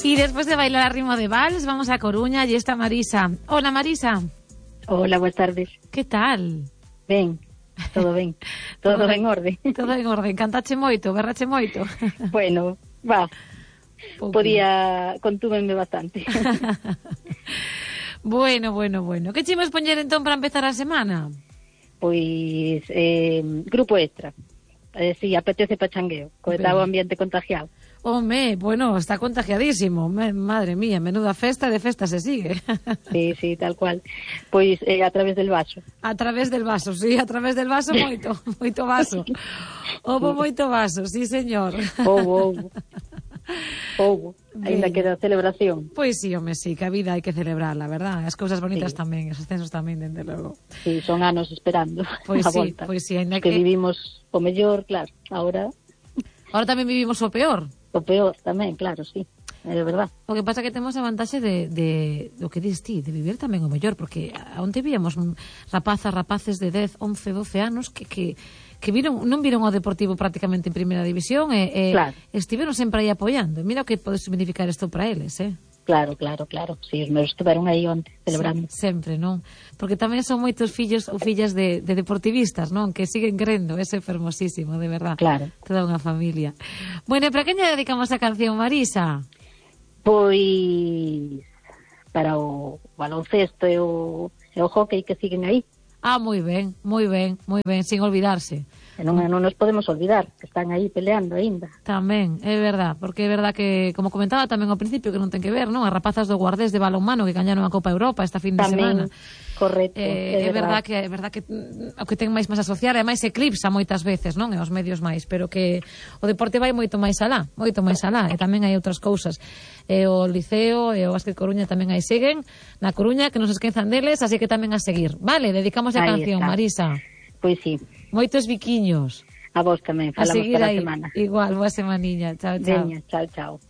Y después de bailar a ritmo de vals, vamos a Coruña y está Marisa. Hola, Marisa. Hola, buenas tardes. Que tal? Ben, todo ben. Todo en orde. Todo en orde. Cantache moito, berrache moito. Bueno, va. Contúvenme bastante. Bueno. Que che imos poñer entón para empezar a semana? Pois, grupo extra. Si, apetece pachangueo, co tal ambiente contagiado. Home, bueno, está contagiadísimo. Madre mía, menuda festa, de festa se sigue. Sí, tal cual. Pois, a través del vaso. A través del vaso, sí, a través del vaso moito vaso. Houbo moito vaso, sí, señor. Houbo. Ainda queda celebración. Pois sí, home, sí, que a vida hai que celebrarla, verdad? As cousas bonitas tamén, os ascensos tamén, dende logo. Sí, son anos esperando pois a volta. Pois sí, ainda que vivimos o mellor, claro, Ahora tamén vivimos o peor. O peor tamén, claro, sí, é verdad. O que pasa que temos a vantaxe de o que dis ti, de vivir tamén o mellor, porque onte víamos rapaces de 10, 11, 12 anos que non viron ao Deportivo prácticamente en primeira división e claro. Estiveron sempre aí apoiando. Mira o que pode significar isto para eles, Claro. Si, os meus estiveron aí onte, celebrando. Sempre, non? Porque tamén son moitos fillos ou fillas de deportivistas, non? Que siguen crendo, é fermosísimo, de verdad. Claro. Toda unha familia. Bueno, e para quen lle dedicamos a canción, Marisa? Pois para o baloncesto e o hockey que siguen aí. Moi ben, sin olvidarse. E non nos podemos olvidar, que están aí peleando aínda. Tamén, é verdad, porque é verdad que, como comentaba tamén ao principio, que non ten que ver, non? As rapazas do Guardés de balonmano que gañaron a Copa Europa esta fin de semana. Correcto, é verdad que o que ten máis asociar é máis eclipsa moitas veces, non? E os medios máis, pero que o deporte vai moito máis alá, e tamén hai outras cousas. E o Liceo e o Básquet Coruña tamén aí seguen, na Coruña, que non se esquezan deles, así que tamén a seguir. Vale, dedicamos a canción, está. Marisa. Pois sí. Moitos biquiños. A vos tamén, falamos para a semana. Igual, boa semaniña. Chao. Veña, chao.